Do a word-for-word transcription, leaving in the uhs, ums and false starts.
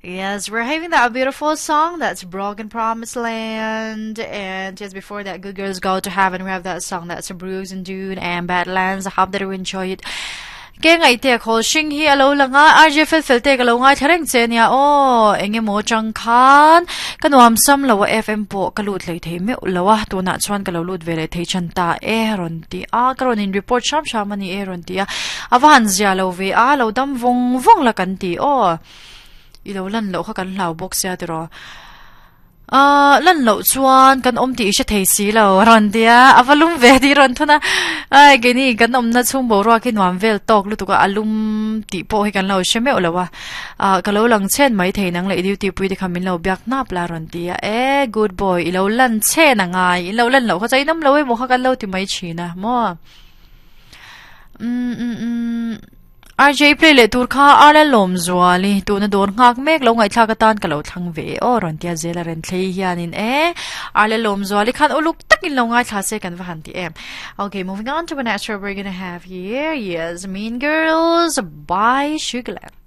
Yes, we're having that beautiful song that's Broken Promised Land. And just before that, Good Girls Go to Heaven, we have that song that's Brooks and Dunn and Badlands. I hope that you enjoy it. Ke ngai te khol shing hi alo langa R J fel fel te ka lo ngai thareng che nia o enge mo chang khan ka nuam sam lo F M po ka lut lei thei me lowa tuna chuan ka lo lut ve le thei chan ta e ron ti a ka ron in report sham sham ani e ron ti a awan zia lo ve a lo dam vong vong la kan ti o i lo lan lo kha kan hlau bawk sia ti ro a lan lo chuan kan om ti se thei si lo ron tia avalum ve ti ron thuna ai ge ni kan om na chung bo ro ki nuam vel tok lu tu ka alum ti po hi kan lo she me lo wa a ka lo lang chen mai thei nang le duty pui te khamin lo byak nap la ron tia e good boy i lo lan chen angai i lo lan lo kha chai nam lo e mo kha kan lo ti mai china mo um um um R J play le tur kha ala lom zuali tu na dor ngak mek lo ngai thla ka tan ka lo thlang ve o ron tia zela ren thlei hianin e ala lom zuali khan uluk takin lo ngai thla se kan va han ti em. Okay, moving on to the next track we're gonna have here. Yes, Mean Girls by Sugarland.